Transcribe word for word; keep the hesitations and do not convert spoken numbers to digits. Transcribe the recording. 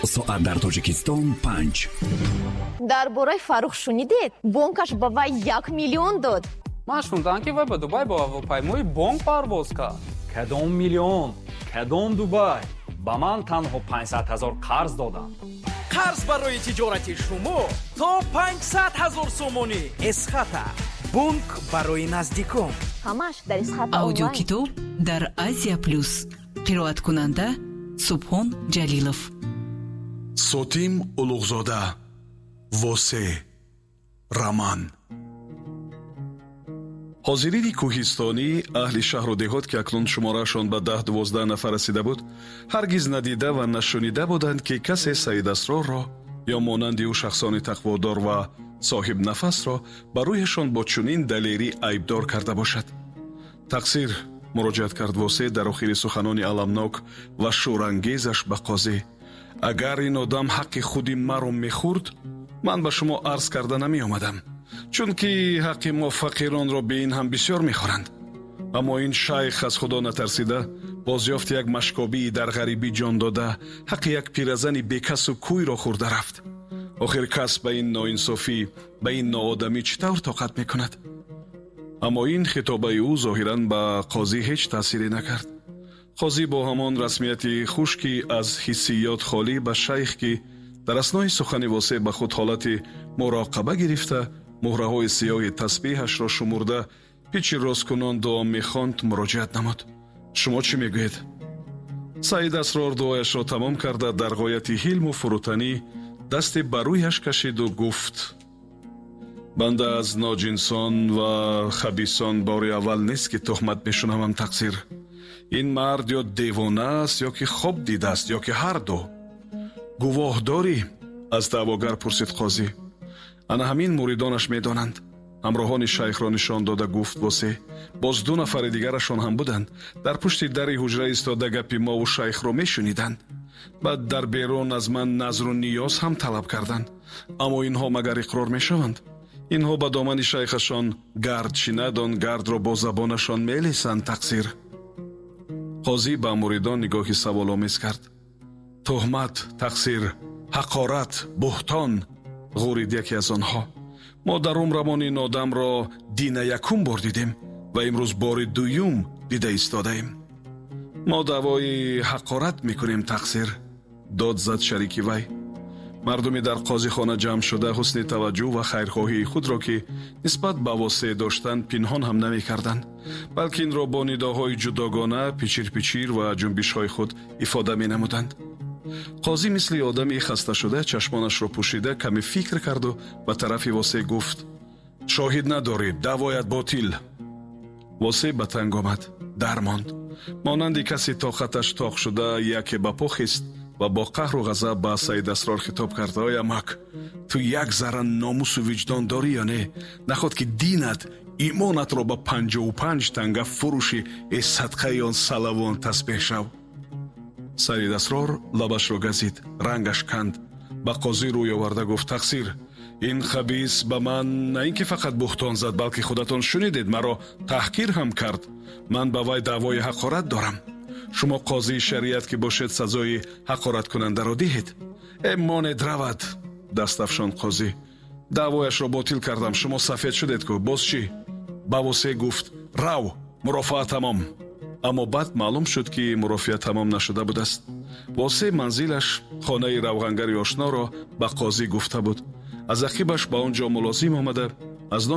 Соат дар Тоҷикистон панҷ. Дар бораи Фаррух шунидед? Бонкаш ба вай як миллион дод. Ман шунидам, ки вай ба Дубай бо ҳавопаймои бонк парвоз кард. Кадом миллион, кадом Дубай? Ба ман танҳо панҷсад ҳазор қарз доданд. Қарз барои тиҷорати шумо то панҷсад ҳазор сомонӣ. Эсхата, бонк барои наздикон. Ҳамаш дар Эсхата. Аудиокитоб дар Азия Плюс. Қироаткунанда Субҳон Ҷалилов. Сотим Улуғзода, «Восе», роман. Ҳозирини кӯҳистонӣ, аҳли шаҳру деҳот, ки акнун шумораашон ба даҳ дувоздаҳ нафар расида буд, ҳаргиз надида ва нашунида буданд, ки касе Саид Асрорро ё монанди ӯ шахсони тақводор ва соҳибнафасро ба рӯяшон бо чунин далерӣ айбдор карда бошад. «Тақсир», муроҷиат кард Восе дар охири суханони аламнок ва шӯрангезаш ба қозӣ, «агар ин одам ҳаққи худи маро мехӯрд, ман ба шумо арз карда намеомадам, чунки ҳаққи мо фақиронро бе ин ҳам бисёр мехӯранд. Аммо ин шайх аз Худо натарсида, бозёфти як машкобии дар ғарибӣ ҷон дода, ҳаққи як пиразани бекасу кӯйро хӯрда рафт. Охир кас ба ин ноинсофӣ, ба ин ноодамӣ чӣ тавр тоқат мекунад?» Аммо ин хитобаи ӯ зоҳиран ба қозӣ ҳеҷ таъсире накард. Қозӣ бо ҳамон расмияти хушки аз ҳиссиёт холӣ ба шайх, ки дар аснои сухани Восеъ ба худ ҳолати муроқаба гирифта, муҳраҳои сиёҳи тасбеҳашро шумурда, пичи росткунон дуо мехонд, муроҷиат намуд: «Шумо чӣ мегӯед?» Саид Асрор дуояшро тамом карда, дар ғояти ҳилму фурӯтанӣ дасте ба рӯяш кашиду гуфт: «Банда аз ноҷинсон ва хабисон бори аввал нест, ки туҳмат мешунавам, тақсир. Ин мард ё девона аст, ё ки хоб дидааст, ё ки ҳар ду». «Гувоҳ дорӣ?» аз даъвогар пурсид қозӣ. «Ана ҳамин муридонаш медонанд», ҳамроҳони шайхро нишон дода гуфт Восе. «Боз ду нафари дигарашон ҳам буданд, дар пушти дари ҳуҷра истода, гапи мову шайхро мешуниданд. Баъд дар берун аз ман назру ниёз ҳам талаб карданд. Аммо инҳо магар иқрор мешаванд? Инҳо ба домани шайхашон гард чинад, он гардро бо забонашон мелесанд, тақсир». Қозӣ ба муридон нигоҳи саволомез кард. «Туҳмат, тақсир, ҳақорат, буҳтон», ғурид яке аз онҳо. «Мо дар умрамон ин одамро дина якум бор дидем ва имрӯз бори дуюм дида истодаем». «Мо даъвои ҳақорат мекунем, тақсир», дод зад шарики вай. Мардуми дар қозихона ҷамъ шуда ҳусни таваҷҷӯҳ ва хайрхоҳии худро, ки нисбат ба Восеъ доштанд, пинҳон ҳам намекарданд, балки инро бо нидоҳои ҷудогона, пичирпичир ва ҷунбишҳои худ ифода менамуданд. Қозӣ мисли одами хасташуда чашмонашро пӯшида, каме фикр карду ба тарафи Восеъ гуфт: «Шоҳид надорӣ, даъвоят ботил». Восеъ ба танг омад, дармонд. Монанди каси тоқаташ тоқ шуда, яке ба по хист ва бо қаҳру ғазаб ба Саид Асрор хитоб кард: «Ой амак, ту як зарра номусу виҷдон дорӣ ё не? Наход ки динат, имонатро ба панҷоҳу панҷ танга фурӯши, э садқаи он салавон тасбеҳ шав?» Саид Асрор лабашро газид, рангаш канд, ба қозӣ рӯй оварда гуфт: «Тақсир, ин хабис ба ман на ин ки фақат буҳтон зад, балки худатон шунидед, маро таҳқир ҳам кард. Ман ба вай даъвои ҳақорат дорам. Шумо қозии шариат ки бошед, сазои ҳақораткунандаро диҳед». «Э, монед равад», даст афшонд қозӣ. «Даъвояшро ботил кардам. Шумо сафед шудед ку, боз чӣ?» Ба Восеъ гуфт: «Рав, мурофиа тамом». Аммо баъд маълум шуд, ки мурофиа тамом нашуда будааст. Восеъ манзилаш, хонаи равғангари ошноро ба қозӣ гуфта буд. Аз ақибаш ба он ҷо мулозим омада, аз номи